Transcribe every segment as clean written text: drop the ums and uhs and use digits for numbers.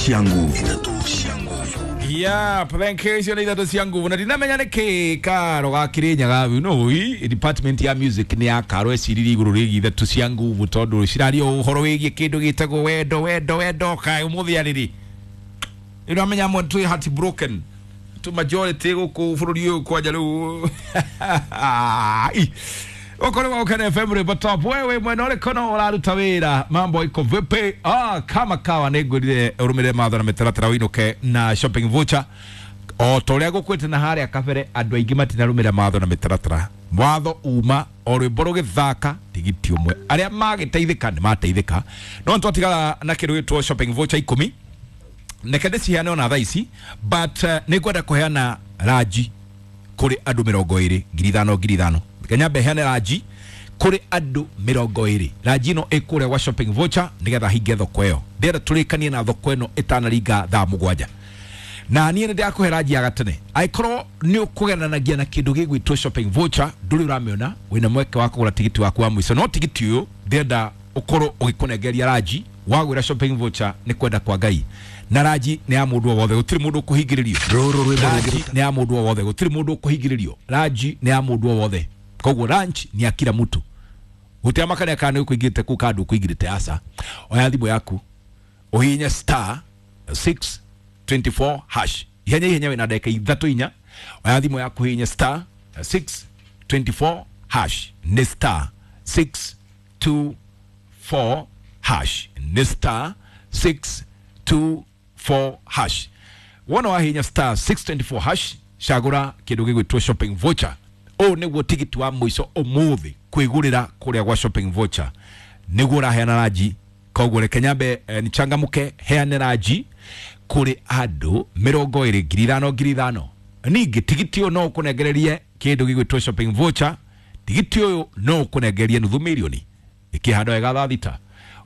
Cia nguvu. Yeah, thank you. Icio nĩ ithatũ cia nguvu na ndinamenya nĩ kĩ karo ga Kĩrĩnyaga no i department ya music nĩ ya karo eciririe igũrũ rĩgiĩ ithatũ cia nguvu tondũ ciraria ũhoro wĩgiĩ kĩndũ gĩtagwo wendo wendo wendo kaĩ ũmũthĩ arĩrĩ nĩ ũramenya amwe twĩ heart broken tu majority gũkũ bũrũri ũyũ kwanja rĩu Uko wa Ukene FM rwĩmbo top wewe mwena ũrĩkũ no ũraruta wĩra mambo iko vipi? Ah, kama kawa nĩ ngwĩrire ũrũmĩrĩre mawatho na mĩtaratara ũinũke na shopping voucher o ta ũrĩa ngũkwĩte na harĩa kabere andũ aingĩ matinarũmĩrĩra mawatho na mĩtaratara watho uma o rwĩmbo rũgĩthaka tigiti ũmwe arĩa magĩteithĩka nĩ mateithĩka no nĩtwatigara na kĩndũ gĩtwo shopping voucher ikũmi neke ndĩciheane ona thaa ici but nĩ ngwenda kũheana ranji kũrĩ andũ 20 5,000 5,000 kenya heane ranji kũrĩ andũ 20 ranji ĩno ĩ kũrĩa gwa shopping voucher nĩgetha hinge thoko ĩyo ndĩrenda tũrĩkanie na thoko ĩno ĩtanaringa thaa 7 na niĩ nĩ ndĩrakũhe ranji ya gatene angĩkorwo nĩ ũkũgeranagia na kĩndũ gĩgwĩtwo shopping voucher ndũrĩ ũramĩona wĩna mweke wa kũgũra tigiti waku wa mũico no tigiti ũyũ ndĩrenda ũkorwo ũgĩkũnengeria ranji wagwĩra shopping voucher nĩ kwenda kwa Ngai na ranji nĩ ya mũndũ o wothe gũtirĩ mũndũ ũkũhingĩrĩrio Rũrũ rwĩmbo ranji rũngĩ nĩ ya mũndũ o wothe gũtirĩ mũndũ ũkũhingĩrĩrio ranji nĩ ya mũndũ o wothe koguo ranji nĩ ya kila mtu gũtiamakania kana nĩ ũkũingĩrĩte kũu kana ndũkũingĩrĩte aca oya thimũ yaku ũhihinye star 624 hash ihenya ihenya wĩna ndagĩka ithatũ inya oya thimũ yaku ũhihinye star 624 hash nĩ star 624 hash nĩ star 624 hash wona wahihinya star 624 hash cagũra kĩndũ gĩgwĩtwo shopping voucher ũũ nĩguo tigiti wa mũico ũmũthĩ kwĩgũrĩra kũrĩa gwa shopping voucher nĩguo ũraheana ranji koguo reke nyambe nichangamuke heane ranji kũrĩ andũ 20 5,000 5,000 ningĩ tigiti ũyũ no ũkũnengererie kĩndũ gĩgwĩtwo shopping voucher tigiti ũyũ no ũkũnengererie nuthu mirioni ĩkĩhandwo wega thaa thita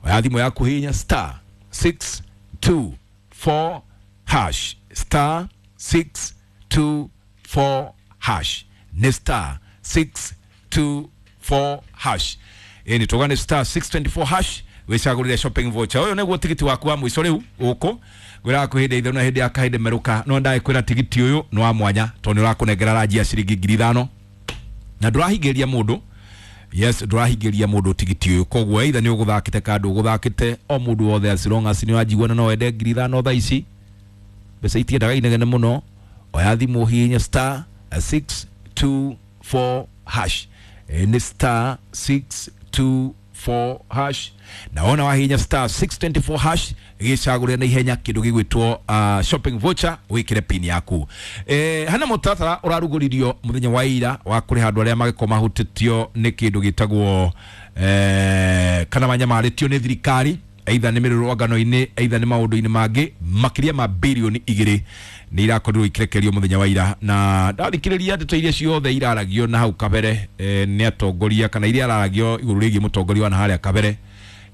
oya thimũ yaku hihinya star 624 hash star 624 hash nĩ star 624 hash ĩni tuga nĩ star 624 hash wĩcagũrĩre shopping voucher ũyũ nĩguo tigiti waku wa mũico rĩu gũkũ ngwĩraga kwĩ hĩndĩ itherũ na hĩndĩ ya kahĩndĩ merũka no ndagĩkwĩra tigiti ũyũ nĩ wa mwanya tondũ nĩ ũrakũnengera ranji ya ciringi 5,000 na ndũrahingĩria mũndũ yes ndũrahingĩria mũndũ tigiti ũyũ koguo either nĩ ũgũthakĩte kana ndũgũthakĩte o mũndũ wothe as long as nĩ ũranjigua na no wende 5,000 thaa ici mbeca itiendaga inegene mũno oya thimũ hihinya star 624 hash nĩ star 624 hash na wona wahihinya star 624 hash gĩcagũrĩre na ihenya kĩndũ gĩgwĩtwo shopping voucher wĩkĩre pin yaku hana mũtaratara ũrarugũririo mũthenya wa ira wa kũrĩha andũ arĩa magĩkorwo mahutĩtio nĩ kĩndũ gĩtagwo kana manyamarĩtio nĩ thirikari either nĩ mĩrũrũngano-inĩ either nĩ maũndũ-inĩ mangĩ makĩria ma birioni 2 nĩ irakorirwo ikirekerio mũthenya wa ira na ndathikĩrĩria ndeto iria ciothe iraragio na hau kabere nĩ atongoria kana iria iraragio igũrũ rĩgiĩ mũtongoria wa na harĩa kabere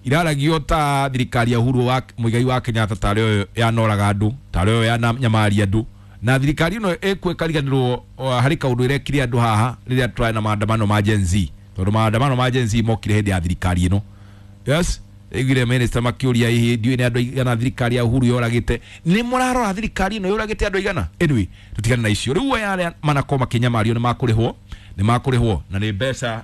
iraragio ta thirikari ya Uhuru wa Muigai wa Kenyatta tarĩ yo yanoraga andũ tarĩ yo yananyamaria andũ na thirikari ĩno ĩkuo ĩkariganĩrwo harĩ kaũndũ ĩrekire andũ haha rĩrĩa tũrarĩ na maandamano ma Gen Z tondũ maandamano ma Gen Z mokire hĩndĩ ya thirikari ĩno yes iguire minister makiuria hihi ndiũĩ nĩ andũ aigana thirikari ya Uhuru yoragĩte nĩ mũrarora thirikari ĩno yoragĩte andũ aigana anyway tũtigane na icio rĩu aya arĩa manakorwo makĩnyamario nĩ makũrĩhwo nĩ makũrĩhwo na nĩ mbeca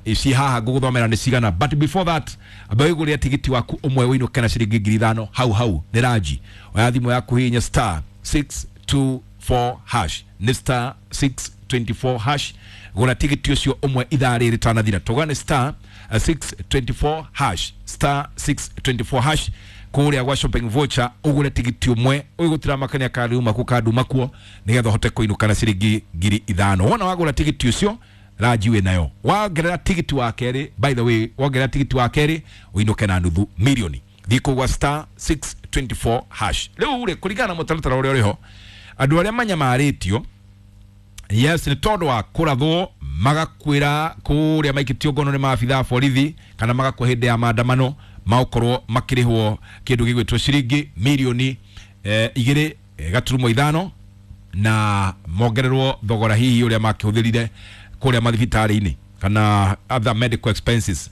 ici haha ngũgũthomera nĩ cigana but before that amba wĩgũrĩre tigiti waku ũmwe ũinũke na ciringi 5,000 hau hau nĩ ranji oya thimũ yaku hihinya star 624 hash nĩ star 624 hash gũra tigiti ũcio ũmwe ithaa rĩrĩ rĩtanathira tũga nĩ star 624 hash star 624 hash kũrĩa gwa shopping voucher ũgũre tigiti ũmwe ũyũ makania kariuma ku kanduma kuo nĩgetha ũhote kũinũka na ciringi 5,000 wona wagũra tigiti ũcio ranji wĩ nayo wongerera tigiti wa kerĩ by the way wongerera tigiti wa kerĩ ũinũke na nuthu mirioni thiĩ kũu gwa star 624 hash rĩu rĩ kũringana na mũtaratara ũrĩa ũrĩho andũ arĩa manyamarĩtio yes nĩ tondũ wa kũrathwo magakwĩra kũrĩa maikĩtio ngono nĩ maabitha a borithi kana magakua hĩndĩ ya maandamano magũkorwo makĩrĩhwo kĩndũ gĩgwĩtwo ciringi mirioni 2.5 na mongererwo thogora hihi ũrĩa makĩhũthĩrire kũrĩa mathibitarĩ-inĩ kana other medical expenses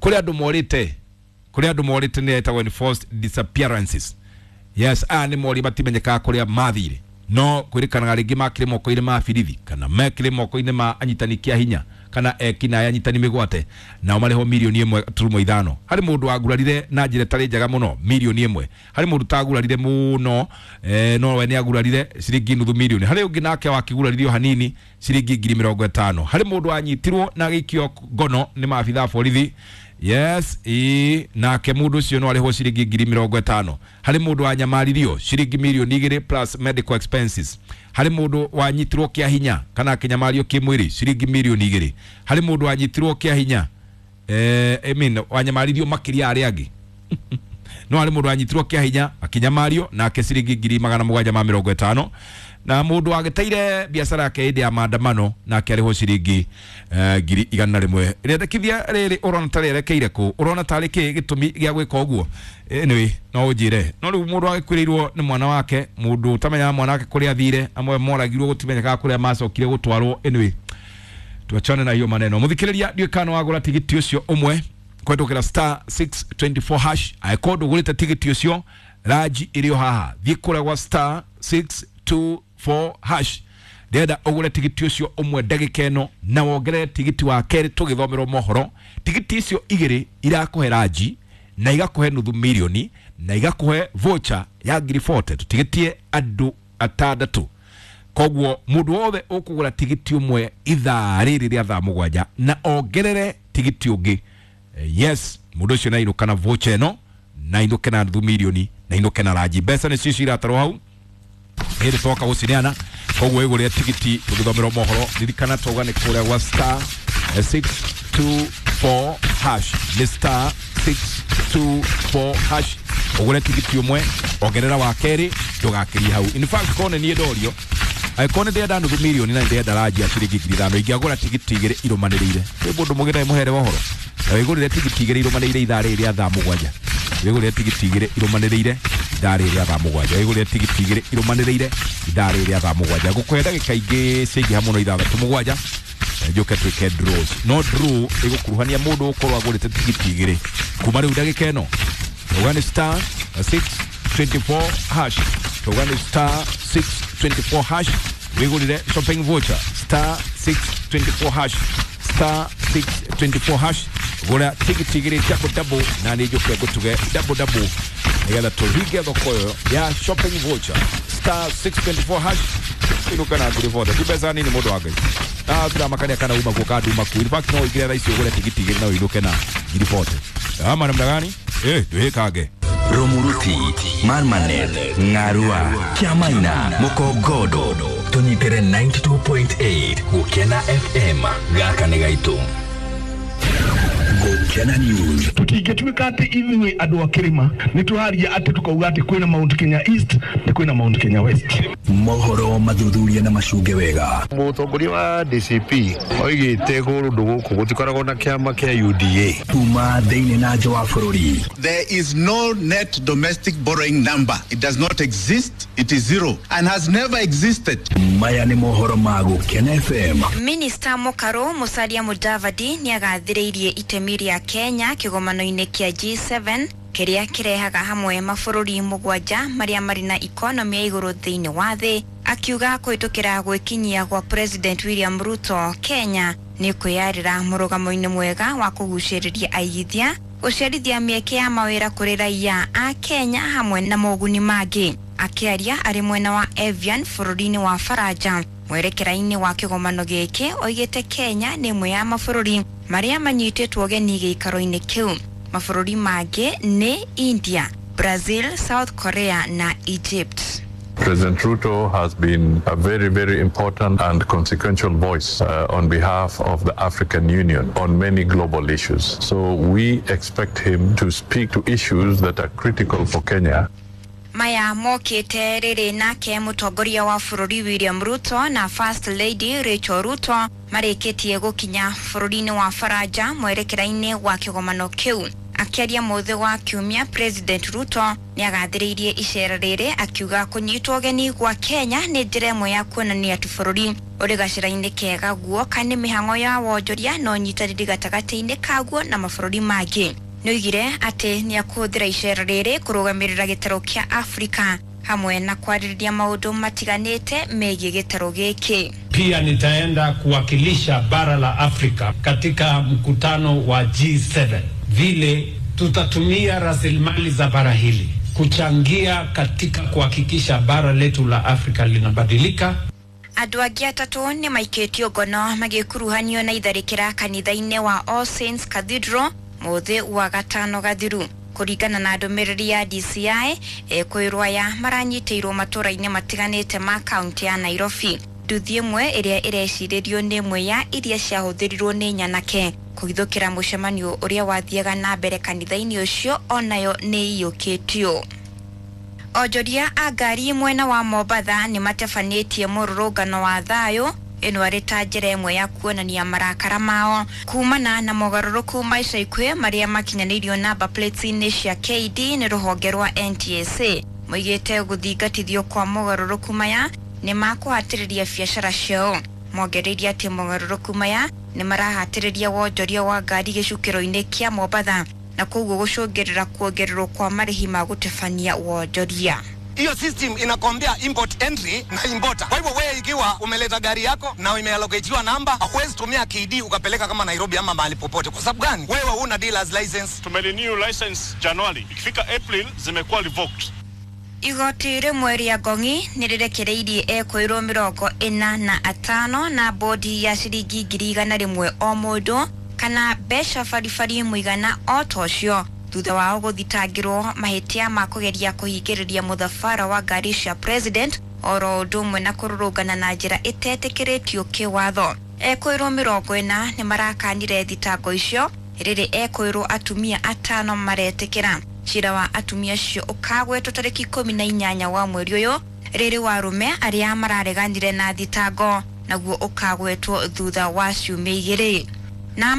kũrĩ andũ morĩte Kũrĩ andũ morĩte nĩ etagwo enforced disappearances. Yes, aya nĩ mori matimenyekaga kũrĩa mathire, no kwĩrĩkanaga rĩngĩ makĩrĩ moko-inĩ ma birithi kana mekĩrĩ moko-inĩ ma anyitani kĩa hinya kana ekinaĩ anyitani mĩgwate, nao marĩhwo 1.5 mirioni. Harĩ mũndũ wagurarire na njĩra ĩtarĩ njega mũno, 1 mirioni. Harĩ mũndũ utagurarire mũno, no we nĩ agurarire ciringi 0.5 mirioni. Harĩ ũngĩ nake wakĩguraririo hanini, ciringi 50,000. Harĩ mũndũ wanyitirwo na agĩikio ngono nĩ maabitha a borithi. Yes, ĩ nake mũndũ ũcio no arĩhwo ciringi 50,000. Harĩ mũndũ wanyamaririo ciringi 2 mirioni plus medical expenses. Harĩ mũndũ wanyitirwo kĩa hinya kana akĩnyamario kĩmwĩrĩ, ciringi 2 mirioni. Harĩ mũndũ wanyitirwo kĩa hinya, I mean, wanyamaririo makĩria arĩa angĩ, no harĩ mũndũ wanyitirwo kĩa hinya akĩnyamario nake ciringi 750,000, na mũndũ wagĩteire biacara yake hĩndĩ ya maandamano nake arĩhwo ciringi 100,000. Rĩendekithia rĩrĩ ũrona ta rĩerekeire kũ? Ũrona tarĩ kĩ gĩtũmi gĩa gwĩka ũguo? Anyway, no ũnjĩre. No rĩu mũndũ agĩkuĩrĩirwo nĩ mwana wake, mũndũ ũtamenyaga mwana wake kũrĩa athire, amwe moragirwo gũtimenyekaga kũrĩa macokire gũtwarwo. Anyway, tuachane na hiyo maneno. Mũthikĩrĩria, ndiũĩ kana wagũra tigiti ũcio ũmwe kũhetũkĩra *624 hash. Angĩkorwo ndũgũrĩte tigiti ũcio, ranji ĩrĩ o haha, thiĩ kũrĩa gwa *624 hash. Ndĩrenda ũgũre tigiti ũcio ũmwe ndagĩka ĩno na wongerere tigiti wa kerĩ tũgĩthomerwo mohoro. Tigiti icio igĩrĩ irakũhe ranji na igakũhe 0.5 mirioni na igakũhe voucher ya 40,000. Tũtigĩtie andũ atandatũ, koguo mũndũ wothe ũkũgũra tigiti ũmwe ithaa rĩrĩ rĩa thaa 7 na ongerere tigiti ũngĩ, yes, mũndũ ũcio nainũka na voucher ĩno, na inũke na 0.5 mirioni, na inũke na ranji. Mbeca nĩcio ciratarwo hau hĩndĩ twoka gũcineana, koguo ĩgũrĩre tigiti tũgĩthomerwo mohoro. Ririkana twauga nĩ kũrĩa gwa *624 hash, nĩ *624 hash. Ũgũre tigiti ũmwe, ongerera wa kerĩ, ndũgakĩrie hau. In fact, korwo nĩ niĩ ndorio, angĩkorwo nĩ ndĩrenda 0.5 mirioni na nĩ ndĩrenda ranji ya ciringi 5,000, ingĩagũra tigiti igĩrĩ irũmanĩrĩire. Kwĩ mũndũ mũgĩ mũhere ũhoro na wĩgũrĩre tigiti igĩrĩ irũmanĩrĩire ithaa rĩrĩ rĩa thaa 7. Wĩgũrĩre tigiti igĩrĩ irũmanĩrĩire ithaa rĩrĩ rĩa thaa 7. Wĩgũrĩre tigiti igĩrĩ irũmanĩrĩire ithaa rĩrĩ rĩa thaa 7. Ngũkũhe ndagĩka ingĩ ciaingĩha mũno ithathatũ mũgwanja njoke twĩke draws, no draw ĩgũkuruhania mũndũ ũkorwo agũrĩte tigiti igĩrĩ kuma rĩu ndagĩka ĩno. Tauga nĩ *624 hash, tauga nĩ *624 hash, wĩgũrĩre shopping voucher. *624 hash, *624 hash, gũra tigiti igĩrĩ cia double na nĩ njũke ngũtuge double double nĩgetha tũhinge thoko ĩyo ya shopping voucher. *624 hash, inũka na 40,000. Ti mbeca nini, mũndũ wa Ngai. Ah, tiramakania kana uma kuo kanduma ku. In fact, no ũingĩre thaa ici ũgũre tigiti igĩrĩ na ũinũke na 40,000. Ama namna gani? Eh, twĩkange. Rumuruti, Marmanet, Ng'arua, Kiamaina, Mukogodo, tũnyitĩre 92.8 Gũkena FM. Gaka nĩ gaitũ. Gũkena News. Tutingĩtuĩka atĩ ithuĩ andũ a kĩrĩma nĩ tũraria atĩ tũkauga atĩ kwĩna Mount Kenya East na kwĩna Mount Kenya West. Mohoro mathuthuria na macunge wega. Mũtongoria wa DCP oigĩte kũndũ gũkũ gũtikoragwo na kĩama kĩa UDA. Kuma thĩinĩ na nja wa bũrũri. There is no net domestic borrowing number. It does not exist. It is zero and has never existed. Maya nĩ mohoro ma Gũkena FM. Minista Mũkarũ Musalia Mudavadi nĩ agathĩrĩirie itemi rĩa Kenya kĩgomano-inĩ kĩa G7 kĩrĩa kĩrehaga hamwe mabũrũri mũgwanja marĩa marĩ na ikonomi ya igũrũ thĩinĩ wa thĩ, akiuga kũhĩtũkĩra gwĩkinyia gwa President William Ruto, Kenya nĩ kwĩyarĩra mũrũgamo-inĩ mwega wa kũgucĩrĩria aigithia, gũcerithia mĩeke ya mawĩra kũrĩ raia a Kenya hamwe na moguni mangĩ. Akĩaria arĩ mwena wa Evian bũrũri-inĩ wa Faranja mwerekera-inĩ wa kĩgomano gĩkĩ, oigĩte Kenya nĩ ĩmwe ya mabũrũri marĩa manyitĩtwo ũgeni gĩikaro-inĩ kĩu. Mabũrũri mangĩ nĩ India, Brazil, South Korea na Egypt. President Ruto has been a very, very important and consequential voice on behalf of the African Union on many global issues. So we expect him to speak to issues that are critical for Kenya. Maya mokĩte rĩrĩ nake mũtongoria wa bũrũri William Ruto na First Lady Rachel Ruto marĩkĩtie gũkinya bũrũri-inĩ wa Faranja mwerekera-inĩ wa kĩgomano kĩu. Akĩaria mũthĩ wa kiumia, President Ruto nĩ agathĩrĩirie icera rĩrĩ, akiuga kũnyitwo ũgeni gwa Kenya nĩ njĩra ĩmwe ya kuonania atĩ bũrũri ũrĩ gacĩra-inĩ kega guoka nĩ mĩhang'o ya wonjoria na ũnyitanĩri gatagatĩ-inĩ kaguo na mabũrũri mangĩ. Nĩoigire atĩ nĩakũhũthĩra icera rĩrĩ kũrũgamĩrĩra gĩtarũ kĩa Afrika hamwe na kwarĩrĩria maũndũ matiganĩte megiĩ gĩtarũ gĩkĩ. Pia nitaenda kuwakilisha bara la Afrika katika mkutano wa G7, vile tutatumia rasilimali za bara hili kuchangia katika kuhakikisha bara letu la Afrika linabadilika. Andũ angĩ atatũ nĩ maikĩtio ngono magĩkuruhanio na itharĩkĩra kanitha-inĩ wa All Saints Cathedral mũthĩ wa gatano gathiru. Kũringana na ndũmĩrĩri ya DCI, ekwĩrwo aya maranyitĩirwo matũra-inĩ matiganĩte ma kaunti ya Nairobi. Nduthi ĩmwe ĩrĩa ĩrecirĩrio nĩ ĩmwe ya iria ciahũthĩrirwo nĩ nyanake kũhithũkĩra mũcemanio ũrĩa wathiaga na mbere kanitha-inĩ ũcio onayo nĩ iyũkĩtio. Onjoria a ngari mwena wa Mombatha nĩ matebanĩtie mũrũrũngano wa thayũ ĩno arĩ ta njĩra ĩmwe ya kuonania marakara mao kumana na mogarũrũku ma ica ikuhĩ marĩa makinyanĩirio namba plates-inĩ cia KD nĩ rũhonge rwa NTSA. Moigĩte gũthingatithio kwa mogarũrũku maya nĩ makũhatĩrĩria biacara ciao. Mongereire atĩ mogarũrũku maya nĩ marahatĩrĩria wonjoria wa ngari gĩcukĩro-inĩ kĩa Mombatha na koguo gũcũngĩrĩra kuongererwo kwa marĩhi ma gũtabania wonjoria. Hiyo system inakwambia import entry na importer. Kwa hivyo wewe ikiwa umeleta gari yako na imeallocatiwa namba, huwezi tumia KD ukapeleka kama Nairobi ama mahali popote. Kwa sababu gani? Wewe huna dealers license. Tumerenew license Januari, ikifika April zimekuwa revoked. Igoti rĩmwe rĩa Ngong'i nĩ rĩrekereirie ekũirwo 45 na bodi ya ciringi 100,000 o mũndũ kana mbeca baribari mũigana o ta ũcio thutha wao gũthitangĩrwo mahĩtia ma kũgeria kũhingĩrĩria mũthabara wa ngari cia president oro ũndũ ũmwe na kũrũrũngana na njĩra ĩtetĩkĩrĩtio kĩwatho. Ekũirwo 40 nĩ marakanire thitango icio rĩrĩ ekũirwo atumia 5 maretĩkĩra. Cira wa atumia acio ũkagwetwo tarĩki 18 wa mweri ũyũ rĩrĩ wa arũme arĩa marareganire na thitango naguo ũkagwetwo thutha wa ciumia 2.